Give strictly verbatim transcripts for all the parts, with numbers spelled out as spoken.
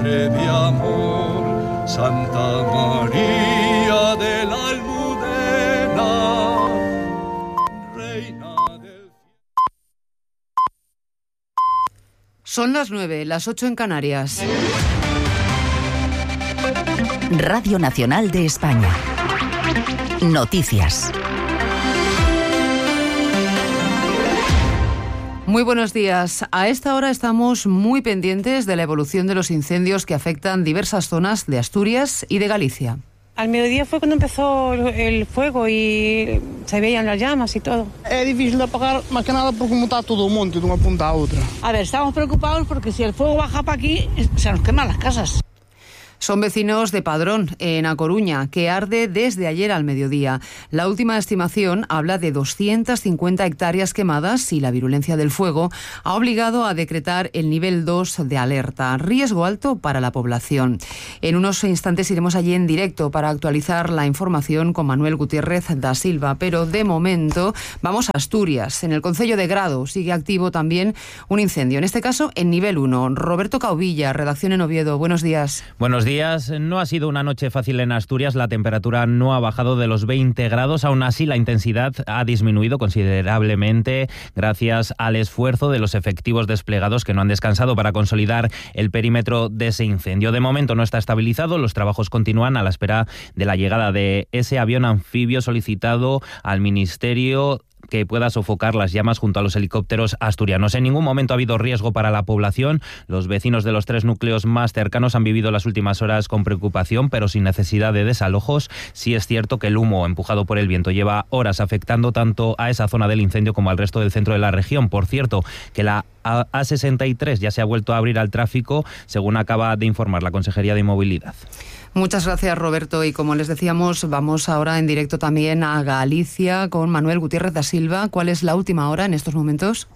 Madre de amor, Santa María de la Almudena, Reina del... Son las nueve, las ocho en Canarias. Radio Nacional de España. Noticias. Muy buenos días. A esta hora estamos muy pendientes de la evolución de los incendios que afectan diversas zonas de Asturias y de Galicia. Al mediodía fue cuando empezó el fuego y se veían las llamas y todo. Es difícil de apagar, más que nada porque como está todo un monte de una punta a otra. A ver, estamos preocupados porque si el fuego baja para aquí, se nos queman las casas. Son vecinos de Padrón, en A Coruña, que arde desde ayer al mediodía. La última estimación habla de doscientas cincuenta hectáreas quemadas y la virulencia del fuego ha obligado a decretar el nivel dos de alerta, riesgo alto para la población. En unos instantes iremos allí en directo para actualizar la información con Manuel Gutiérrez da Silva, pero de momento vamos a Asturias. En el concello de Grado sigue activo también un incendio, en este caso en nivel uno. Roberto Cauvilla, redacción en Oviedo. Buenos días. Buenos días. No ha sido una noche fácil en Asturias. La temperatura no ha bajado de los veinte grados. Aún así, la intensidad ha disminuido considerablemente gracias al esfuerzo de los efectivos desplegados que no han descansado para consolidar el perímetro de ese incendio. De momento no está estabilizado. Los trabajos continúan a la espera de la llegada de ese avión anfibio solicitado al Ministerio que pueda sofocar las llamas junto a los helicópteros asturianos. En ningún momento ha habido riesgo para la población. Los vecinos de los tres núcleos más cercanos han vivido las últimas horas con preocupación, pero sin necesidad de desalojos. Sí es cierto que el humo empujado por el viento lleva horas afectando tanto a esa zona del incendio como al resto del centro de la región. Por cierto, que la A sesenta y tres ya se ha vuelto a abrir al tráfico, según acaba de informar la Consejería de Movilidad. Muchas gracias, Roberto. Y como les decíamos, vamos ahora en directo también a Galicia con Manuel Gutiérrez da Silva. ¿Cuál es la última hora en estos momentos?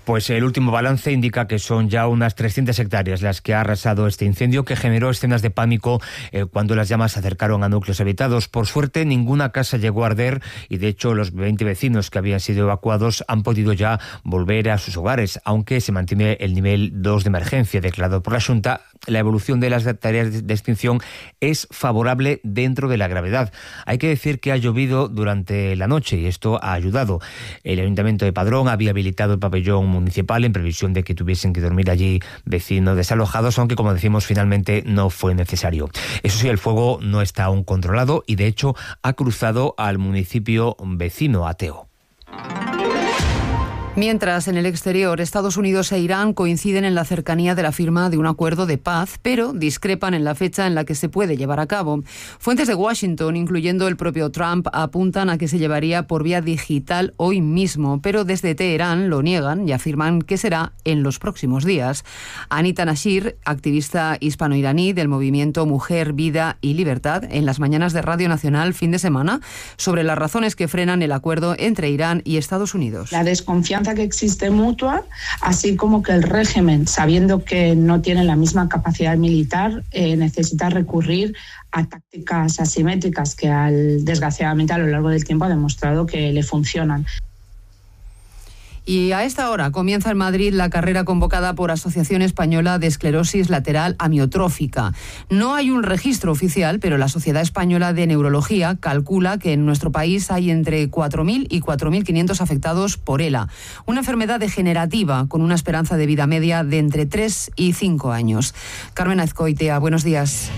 Pues el último balance indica que son ya unas trescientas hectáreas las que ha arrasado este incendio, que generó escenas de pánico eh, cuando las llamas se acercaron a núcleos habitados. Por suerte, ninguna casa llegó a arder y, de hecho, los veinte vecinos que habían sido evacuados han podido ya volver a sus hogares, aunque se mantiene el nivel dos de emergencia declarado por la Xunta. La evolución de las tareas de extinción es favorable dentro de la gravedad. Hay que decir que ha llovido durante la noche y esto ha ayudado. El Ayuntamiento de Padrón había habilitado el pabellón municipal en previsión de que tuviesen que dormir allí vecinos desalojados, aunque, como decimos, finalmente no fue necesario. Eso sí, el fuego no está aún controlado y, de hecho, ha cruzado al municipio vecino, Ateo. Mientras, en el exterior, Estados Unidos e Irán coinciden en la cercanía de la firma de un acuerdo de paz, pero discrepan en la fecha en la que se puede llevar a cabo. Fuentes de Washington, incluyendo el propio Trump, apuntan a que se llevaría por vía digital hoy mismo, pero desde Teherán lo niegan y afirman que será en los próximos días. Anita Nashir, activista hispano-iraní del movimiento Mujer, Vida y Libertad, en las mañanas de Radio Nacional fin de semana, sobre las razones que frenan el acuerdo entre Irán y Estados Unidos. La desconfianza que existe mutua, así como que el régimen, sabiendo que no tiene la misma capacidad militar, eh, necesita recurrir a tácticas asimétricas que al, desgraciadamente a lo largo del tiempo ha demostrado que le funcionan. Y a esta hora comienza en Madrid la carrera convocada por Asociación Española de Esclerosis Lateral Amiotrófica. No hay un registro oficial, pero la Sociedad Española de Neurología calcula que en nuestro país hay entre cuatro mil y cuatro mil quinientos afectados por ELA, una enfermedad degenerativa con una esperanza de vida media de entre tres y cinco años. Carmen Azcoitia, buenos días.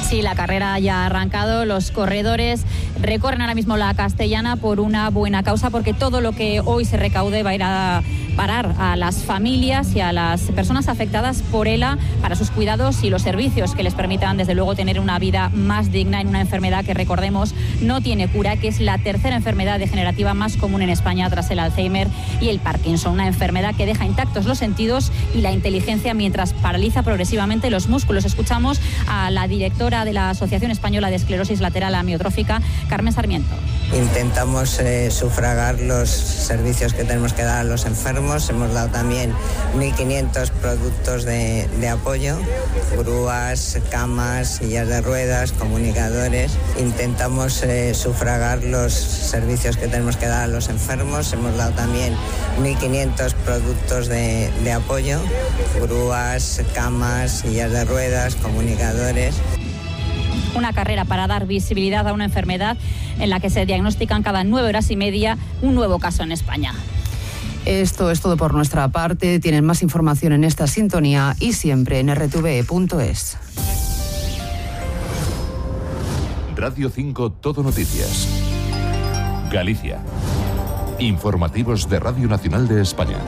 Sí, la carrera ya ha arrancado. Los corredores recorren ahora mismo la Castellana por una buena causa, porque todo lo que hoy se recaude va a ir a parar a las familias y a las personas afectadas por ELA para sus cuidados y los servicios que les permitan, desde luego, tener una vida más digna en una enfermedad que, recordemos, no tiene cura, que es la tercera enfermedad degenerativa más común en España tras el Alzheimer y el Parkinson, una enfermedad que deja intactos los sentidos y la inteligencia mientras paraliza progresivamente los músculos. Escuchamos a la directora de la Asociación Española de Esclerosis Lateral Amiotrófica, Carmen Sarmiento. Intentamos eh, sufragar los servicios que tenemos que dar a los enfermos enfermos. Hemos dado también mil quinientos productos de, de apoyo, grúas, camas, sillas de ruedas, comunicadores. Intentamos eh, sufragar los servicios que tenemos que dar a los enfermos. Hemos dado también mil quinientos productos de, de apoyo, grúas, camas, sillas de ruedas, comunicadores. Una carrera para dar visibilidad a una enfermedad en la que se diagnostican cada nueve horas y media un nuevo caso en España. Esto es todo por nuestra parte. Tienen más información en esta sintonía y siempre en erre te ve punto es. Radio cinco Todo Noticias. Galicia. Informativos de Radio Nacional de España.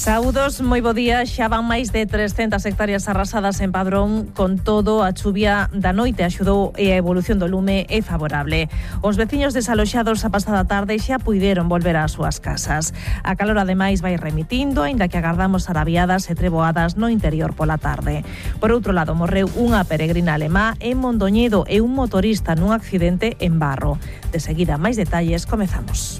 Saúdos, moi bo día. Xa van máis de trescentas hectáreas arrasadas en Padrón. Con todo, a chuvia da noite axudou e a evolución do lume é favorable. Os veciños desaloxados a pasada tarde xa puideron volver ás súas casas. A calor ademais vai remitindo, aínda que agardamos arabiadas e treboadas no interior pola tarde. Por outro lado, morreu unha peregrina alemá en Mondoñedo e un motorista nun accidente en Barro. De seguida, máis detalles, comezamos.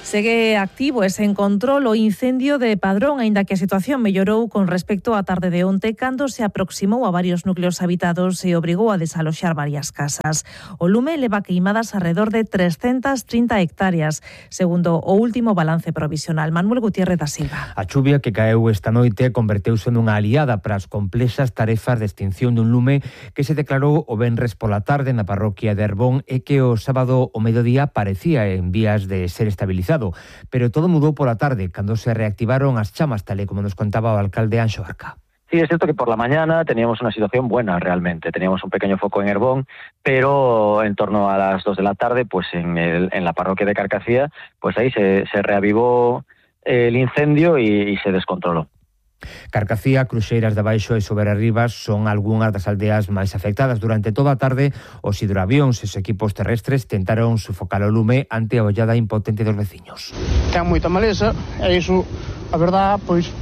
Segue activo e sen control o incendio de Padrón, aínda que a situación mellorou con respecto á tarde de onte, cando se aproximou a varios núcleos habitados e obrigou a desaloxar varias casas. O lume leva queimadas alrededor de trescentas trinta hectáreas, segundo o último balance provisional. Manuel Gutiérrez da Silva. A chuvia que caeu esta noite converteuse nunha aliada para as complexas tarefas de extinción dun lume que se declarou o venres pola tarde na parroquia de Herbón e que o sábado o mediodía parecía en vías de ser estabilizado. Pero todo mudou pola tarde, cando se reactivaron as chamas, tal e como nos contaba o alcalde Anxo Barca. Sí, es cierto que por la mañana teníamos una situación buena realmente. Teníamos un pequeño foco en Herbón, pero en torno a las dos de la tarde, pues en, el, en la parroquia de Carcacía, pues ahí se, se reavivó el incendio y, y se descontroló. Carcacía, Cruxeiras de Baixo e Soberarribas son algunhas das aldeas máis afectadas. Durante toda a tarde, os hidroavións e os equipos terrestres tentaron sufocar o lume ante a ollada impotente dos veciños. Ten moita maleza e iso, a verdad, pois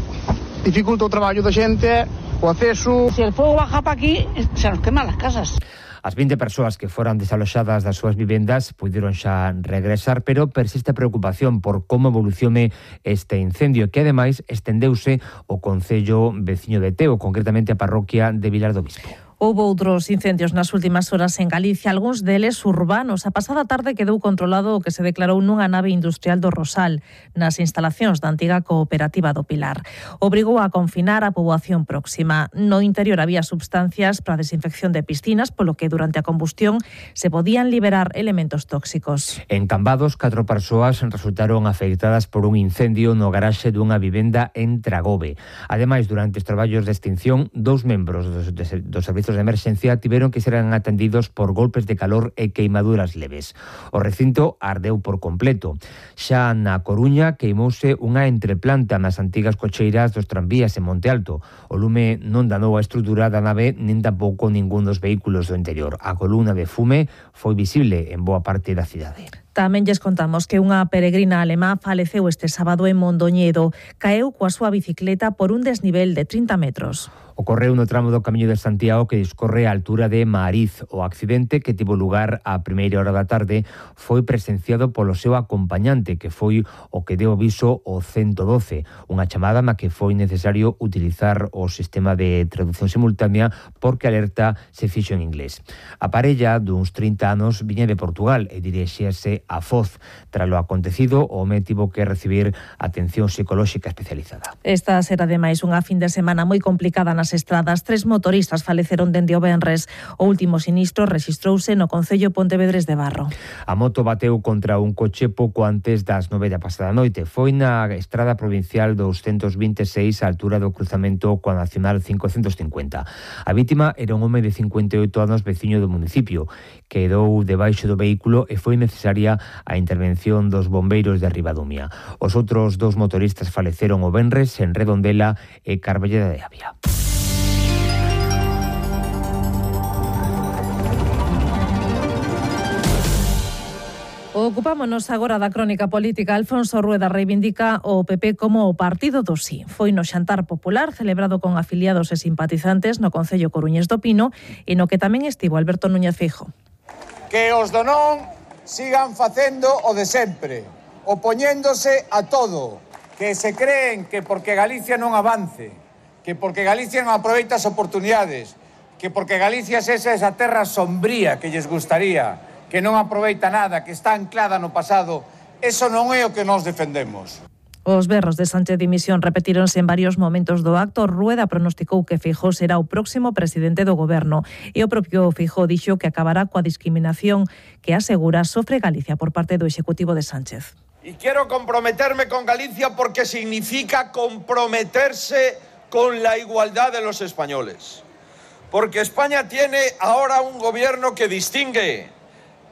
dificulta o traballo da xente, o acceso. Se el fuego baja para aquí, se nos queman las casas. As vinte persoas que foran desaloxadas das súas vivendas puideron xa regresar, pero persiste a preocupación por como evolucione este incendio, que ademais estendeuse o concello veciño de Teo, concretamente a parroquia de Vilar do Bispo. Houbo outros incendios nas últimas horas en Galicia, algúns deles urbanos. A pasada tarde quedou controlado o que se declarou nunha nave industrial do Rosal, nas instalacións da antiga cooperativa do Pilar. Obrigou a confinar a poboación próxima. No interior había substancias para a desinfección de piscinas, polo que durante a combustión se podían liberar elementos tóxicos. En Cambados, catro persoas resultaron afectadas por un incendio no garaxe dunha vivenda en Tragobe. Ademais, durante os traballos de extinción, dous membros dos, dos servizos de emerxencia tiveron que ser atendidos por golpes de calor e queimaduras leves. O recinto ardeu por completo. Xa na Coruña queimouse unha entreplanta nas antigas cocheiras dos tranvías en Monte Alto. O lume non danou a estrutura da nave nin tampouco ningún dos vehículos do interior. A columna de fume foi visible en boa parte da cidade. Tamén lles contamos que unha peregrina alemá faleceu este sábado en Mondoñedo. Caeu coa súa bicicleta por un desnivel de trinta metros. Ocorreu no tramo do Camiño de Santiago que discorre á altura de Maariz. O accidente, que tivo lugar á primeira hora da tarde, foi presenciado polo seu acompañante, que foi o que deu aviso ao ciento doce, unha chamada na que foi necesario utilizar o sistema de traducción simultánea porque a alerta se fixo en inglés. A parella duns trinta anos viña de Portugal e dirixíase a Foz. Tras lo acontecido, o home tivo que recibir atención psicolóxica especializada. Esta será ademais unha fin de semana moi complicada nas estradas. Tres motoristas faleceron dende o venres. O último sinistro rexistrouse no concello Pontevedres de Barro. A moto bateu contra un coche pouco antes das nove da pasada noite. Foi na estrada provincial doscientos vinte e seis á altura do cruzamento coa Nacional cincocentos cincuenta. A vítima era un home de cincuenta e oito anos veciño do municipio. Quedou debaixo do vehículo e foi necesaria a intervención dos bombeiros de Ribadumia. Os outros dous motoristas faleceron o venres en Redondela e Carballeda de Avia. Ocupámonos agora da crónica política. Alfonso Rueda reivindica o P P como o partido do sí. Foi no xantar popular celebrado con afiliados e simpatizantes no concello coruñés do Pino e no que tamén estivo Alberto Núñez Feijóo. Que os do non sigan facendo o de sempre, opoñéndose a todo, que se creen que porque Galicia non avance, que porque Galicia non aproveita as oportunidades, que porque Galicia é esa terra sombría que lles gustaría, que non aproveita nada, que está anclada no pasado, eso non é o que nós defendemos. Os berros de Sánchez dimisión repetíronse en varios momentos do acto. Rueda pronosticou que Feijóo será o próximo presidente do goberno e o propio Feijóo dixo que acabará coa discriminación que asegura sofre Galicia por parte do Executivo de Sánchez. Y quiero comprometerme con Galicia porque significa comprometerse con la igualdad de los españoles. Porque España tiene ahora un gobierno que distingue,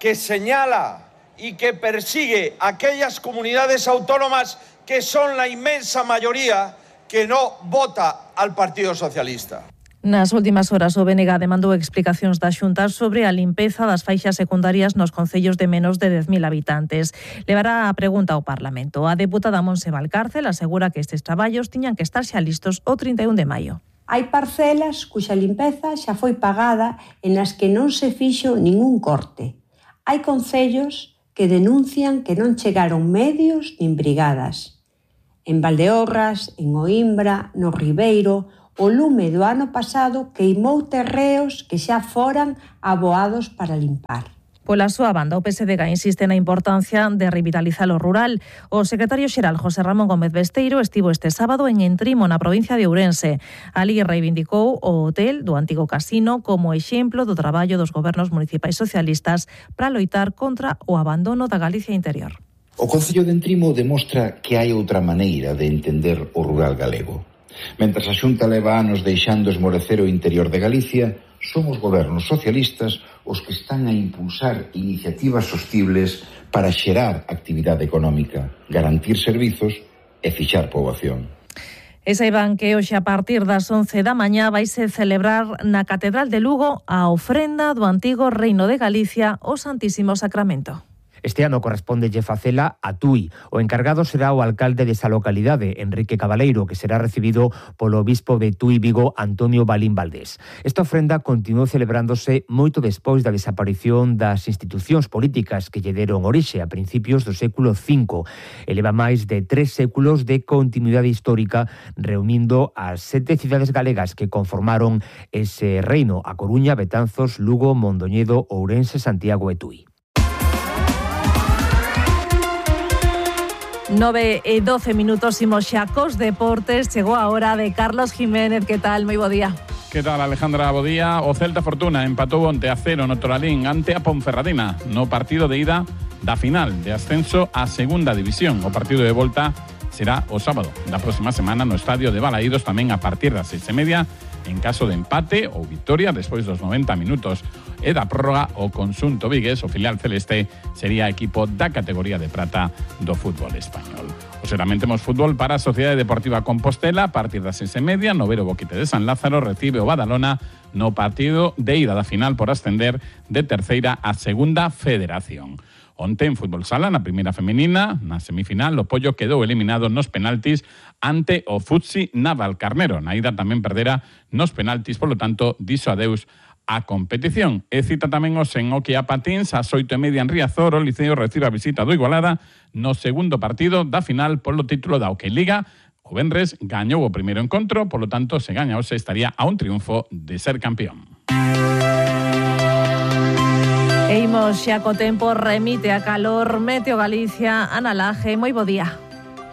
que señala y que persigue aquellas comunidades autónomas que son la inmensa mayoría que no vota al Partido Socialista. Nas últimas horas o B N G demandou explicacións da Xunta sobre a limpeza das faixas secundarias nos concellos de menos de dez mil habitantes. Levará a pregunta ao Parlamento. A deputada Montse Valcárcel asegura que estes traballos tiñan que estar xa listos o trinta e un de maio. Hai parcelas cuxa limpeza xa foi pagada e nas que non se fixo ningún corte. Hai concellos que denuncian que non chegaron medios nin brigadas. En Valdeorras, en Oimbra, no Ribeiro, o lume do ano pasado queimou terreos que xa foran aboados para limpar. Pola súa banda, o P S D G insiste na importancia de revitalizar o rural. O secretario xeral José Ramón Gómez Besteiro estivo este sábado en Entrimo, na provincia de Ourense. Ali reivindicou o hotel do antigo casino como exemplo do traballo dos gobernos municipais socialistas para loitar contra o abandono da Galicia interior. O Concello de Entrimo demostra que hai outra maneira de entender o rural galego. Mentras a Xunta leva anos deixando esmorecer o interior de Galicia, son os gobernos socialistas os que están a impulsar iniciativas sostibles para xerar actividade económica, garantir servizos e fixar poboación. E saiban que hoxe a partir das once da mañá vaise celebrar na Catedral de Lugo a ofrenda do antigo Reino de Galicia ao Santísimo Sacramento. Este ano correspóndelle facela a Tui. O encargado será o alcalde desa localidade, Enrique Cabaleiro, que será recibido polo obispo de Tui Vigo, Antonio Balín Valdés. Esta ofrenda continuou celebrándose moito despois da desaparición das institucións políticas que lle deron orixe a principios do século cinco. Eleva máis de tres séculos de continuidade histórica, reunindo as sete cidades galegas que conformaron ese reino: A Coruña, Betanzos, Lugo, Mondoñedo, Ourense, Santiago e Tui. nove e doce minutos, imos xa cos deportes. Chegou a hora de Carlos Jiménez. Que tal? Moi bo día. Que tal, Alejandra? Bo día. O Celta Fortuna empatou onte a cero no Toralín ante a Ponferradina no partido de ida da final de ascenso á segunda división. O partido de volta será o sábado da próxima semana no estadio de Balaídos, tamén a partir das seis e media, en caso de empate ou victoria despois dos noventa minutos e da prórroga. O conxunto vigués, o filial celeste, sería equipo da categoría de prata do fútbol español. Hoxeramente temos fútbol para a Sociedade Deportiva Compostela. A partir das seis e media, no Vero Boquete de San Lázaro recibe o Badalona no partido de ida da final por ascender de terceira a segunda federación. Onte en fútbol sala, na primeira femenina, na semifinal, o Pollo quedou eliminado nos penaltis ante o Futsi Navalcarnero. Na ida tamén perdera nos penaltis, polo tanto, dixo adeus a competición. E cita tamén os en hockey a patins, ás oito e media en Riazor, o Liceo recibe a visita do Igualada no segundo partido da final polo título da Hockey Liga. O venres gañou o primeiro encontro, polo tanto, se gaña hoxe estaría a un triunfo de ser campeón. E imos xa co tempo, remite a calor. Meteo Galicia, Ana Laje, moi bo día.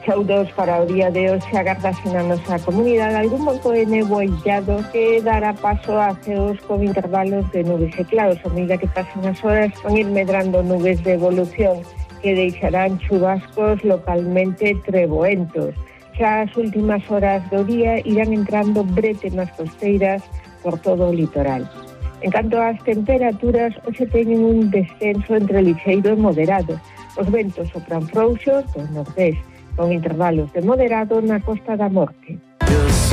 Saudos para o día de hoxe, agardase na nosa comunidade algún monto de nebo illado que dará paso a ceos con intervalos de nubes e claros. A medida que pasen as horas van ir medrando nubes de evolución que deixarán chubascos localmente treboentos. Xa as últimas horas do día irán entrando brete nas costeiras por todo o litoral. En canto ás temperaturas, hoxe teñen un descenso entre lixeiro e moderado. Os ventos sopran frouxos do nordés, con intervalos de moderado na Costa da Morte.